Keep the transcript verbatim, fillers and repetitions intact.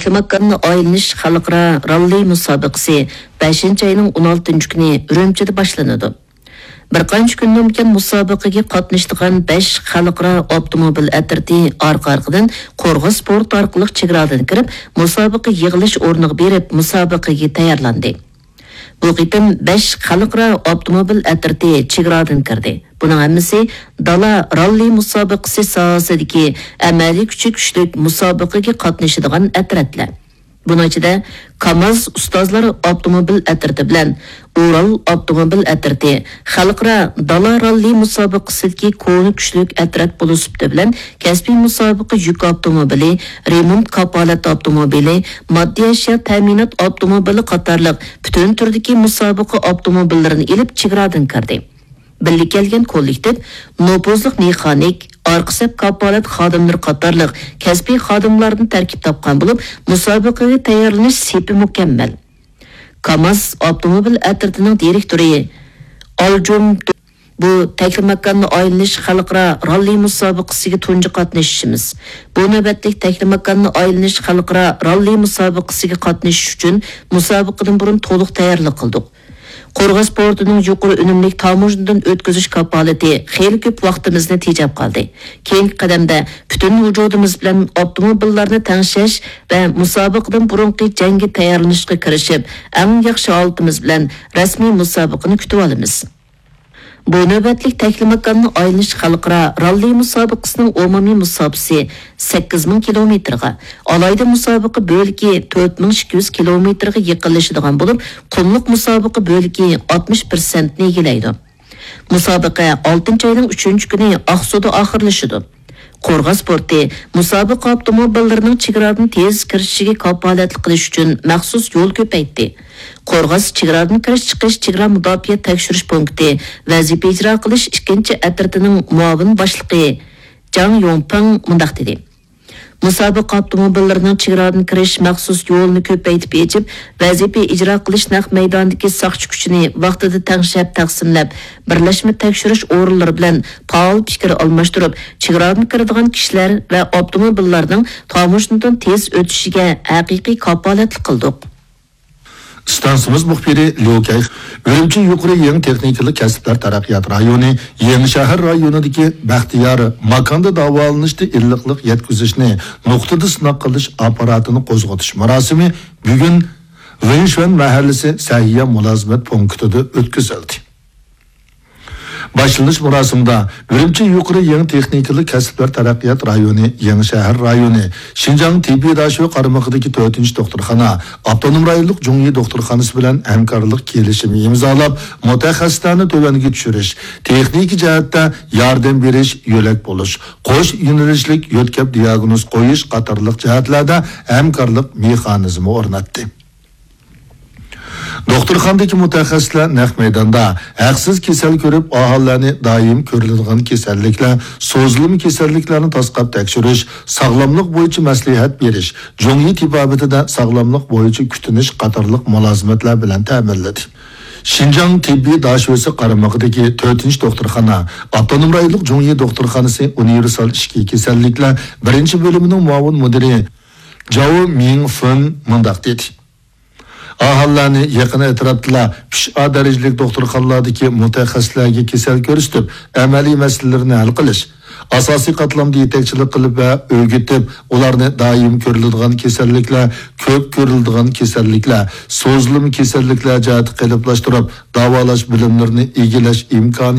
تەكلىماكاننى ئايلىنىش خەلقئارا راللى مۇسابىقىسى بەشىنچى ئاينىڭ ئون ئالتىنچى كۈنى ئۈرۈمچىدە باشلىنىدۇ. بىر قانچە كۈندىن بۇيان مۇسابىقىگە قاتنىشىدىغان بەش خەلقئارا ئاپتوموبىل ئەترىتى ئارقا-ئارقىدىن قورغاس پورتى ئارقىلىق چېگرادىن كىرىپ، مۇسابىقە يىغىلىش ئورنىغا بېرىپ، مۇسابىقىگە تەييارلاندى. بۇ قېتىم بەش خەلقئارا ئاپتوموبىل ئەترىتى چېگرادىن كىردى. بۇنىڭ ھەممىسى دالا راللى مۇسابىقىسى ساھەسىدىكى ئەمەلىي كۈچى كۈچلۈك مۇسابىقىگە قاتنىشىدىغان ئەترەتلەر. بۇنىڭ ئىچىدە كاماز ئۇستازلار ئاپتوموبىل ئەترىتى بىلەن ئۇرال ئاپتوموبىل ئەترىتى خەلقئارا دالا راللى مۇسابىقىسىدىكى كونا كۈچلۈك ئەترەت بولۇش سۈپىتى بىلەن كەسپىي مۇسابىقە يۈك ئاپتوموبىلى، رېمونت كاپالەت ئاپتوموبىلى، ماددىي ئەشيا تەمىنات ئاپتوموبىلى قاتارلىق پۈتۈن تۈردىكى مۇسابىقە ئاپتوموبىللىرىنى ئېلىپ چېگرادىن كىردى. بىللە كەلگەن كوللېكتىپ نوپۇزلۇق مېخانىك، ئارقا سەپ كاپالەت خادىملىرى قاتارلىق كەسپىي خادىملاردىن تەركىب تاپقان بولۇپ، مۇسابىقىگە تەييارلىنىش سېپى مۇكەممەل. كاماز ئاپتوموبىل ئەترىتىنىڭ دىرېكتورى ئالجۇم بۇ تەكلىماكاننى ئايلىنىش خەلقئارا راللى مۇسابىقىسىگە تۇنجى قاتنىشىشىمىز. بۇ نۆۋەتلىك تەكلىماكاننى ئايلىنىش خەلقئارا راللى مۇسابىقىسىگە قاتنىشىش ئۈچۈن مۇسابىقىدىن بۇرۇن تولۇق تەييارلىق قىلدۇق. قورغاس پورتىنىڭ يۇقىرى ئۈنۈملۈك تاموژنىدىن ئۆتكۈزۈش كاپالىتى خېلى كۆپ ۋاقتىمىزنى تېجەپ قالدى. كېيىنكى قەدەمدە پۈتۈن ۋۇجۇدىمىز بىلەن ئاپتوموبىللارنى تەڭشەش ۋە مۇسابىقىدىن بۇرۇنقى جەڭگە تەييارلىنىشقا كىرىشىپ، ئەڭ ياخشى ھالىتىمىز بىلەن رەسمىي مۇسابىقىنى كۈتۈۋالىمىز. بۇ نۆۋەتلىك تەكلىماكاننى ئايلىنىش خەلقئارا راللى مۇسابىقىسىنىڭ ئومۇمىي مۇساپىسى سەككىز مىڭ كىلومېتىرغا، ئالاھىدە مۇسابىقە بۆلىكى تۆت مىڭ ئىككى يۈز كىلومېتىرغا يېقىنلىشىدىغان بولۇپ، قۇملۇق مۇسابىقە بۆلىكى ئاتمىش پىرسەنتنى ئىگىلەيدۇ. مۇسابىقە ئالتىنچى ئاينىڭ ئۈچىنچى كۈنى ئاقسۇدا ئاخىرلىشىدۇ. قورغاس پورتى مۇسابىقە ئاپتوموبىللىرىنىڭ چېگرادىن تېز كىرىشىگە كاپالەتلىك قىلىش ئۈچۈن مەخسۇس يول كۆپەيتتى. قورغاس چېگرادىن كىرىش چىقىش چېگرا مۇداپىئە تەكشۈرۈش پونكىتى ۋەزىپە ئىجرا قىلىش ئىككىنچى ئەترىتىنىڭ مۇئاۋىن باشلىقى جاڭ يوڭپېڭ مۇنداق دېدى: مۇسابىقە ئاپتوموبىللىرىنىڭ چېگرادىن كىرىش مەخسۇس يولىنى كۆپەيتىپ ئېچىپ، ۋەزىپە ئىجرا قىلىش نەق مەيدانىدىكى ساقچى كۈچىنى ۋاقتىدا تەڭشەپ تەقسىملەپ، بىرلەشمە تەكشۈرۈش ئورۇنلىرى بىلەن پائال پىكىر ئالماشتۇرۇپ، چېگرادىن كىرىدىغان كىشىلەر ۋە ئاپتوموبىللارنىڭ تاموژنىدىن تېز ئۆتۈشىگە ھەقىقىي كاپالەتلىك قىلدۇق. ئىستانسىمىز مۇخبىرى ليۇ كەي ئۈرۈمچى يۇقىرى يېڭى تېخنىكىلىق كەسىپلەر تەرەققىيات رايونى يېڭى شەھەر رايونىدىكى بەختىيار ماكاندا داۋالىنىشتا ئىللىقلىق يەتكۈزۈشنى نۇقتىدا سىناق قىلىش ئاپپاراتىنى قوزغىتىش مۇراسىمى بۈگۈن ۋېنشۈەن مەھەللىسى سەھىيە مۇلازىمەت پونكىتىدا ئۆتكۈزۈلدى. باشلىنىش مۇراسىمىدا ئۈرۈمچى يۇقىرى يېڭى تېخنىكىلىق كەسىپلەر تەرەققىيات رايونى يېڭى شەھەر رايونى شىنجاڭ تېببىي داشۆ قارمىقىدىكى تۆتىنچى دوختۇرخانا ئاپتونوم رايونلۇق جۇڭيى دوختۇرخانىسى بىلەن ھەمكارلىق كېلىشىمى ئىمزالاپ، مۇتەخەسسىسلەرنى تۆۋەنگە چۈشۈرۈش، تېخنىكا جەھەتتە ياردەم بېرىش، يۆلەك بولۇش، قوش يۆنىلىشلىك يۆتكەپ دىياگنوز قويۇش قاتارلىق جەھەتلەردە ھەمكارلىق مېخانىزمى ئورناتتى. دوختۇرخانىدىكى مۇتەخەسسىسلەر نەق مەيداندا ھەقسىز كېسەل كۆرۈپ، ئاھالىلەرنى دائىم كۆرۈلىدىغان كېسەللىكلەر، سوزۇلما كېسەللىكلەرنى تاسقاپ تەكشۈرۈش، ساغلاملىق بويىچە مەسلىھەت بېرىش، جۇڭيى تېبابىتىدە ساغلاملىق بويىچە كۈتۈنۈش قاتارلىق مۇلازىمەتلەر بىلەن تەمىنلىدى. شىنجاڭ تېببىي داشۆسى قارمىقىدىكى تۆتىنچى دوختۇرخانا، ئاپتونوم رايونلۇق جۇڭيى دوختۇرخانىسى ئۇنىۋېرسال ئىچكى كېسەللىكلەر بىرىنچى بۆلۈمىنىڭ مۇئاۋىن مۇدىرى جاۋ مىڭفېن مۇنداق دېدى. ئاھالىلەرنى يېقىن ئەتراپتىلا ئۈچ ئا دەرىجىلىك دوختۇرخانىلاردىكى مۇتەخەسسىسلەرگە كېسەل كۆرسىتىپ، ئەمەلىي مەسىلىلىرىنى ھەل قىلىش، ئاساسىي قاتلامدا يېتەكچىلىك قىلىپ ۋە ئۆگىتىپ، ئۇلارنى دائىم كۆرۈلىدىغان كېسەللىكلەر، كۆپ كۆرۈلىدىغان كېسەللىكلەر، سوزۇلما كېسەللىكلەر جەھەتتە قېلىپلاشتۇرۇپ، داۋالاش بىلىملىرىنى ئىگىلەش ئىمكانىيىتى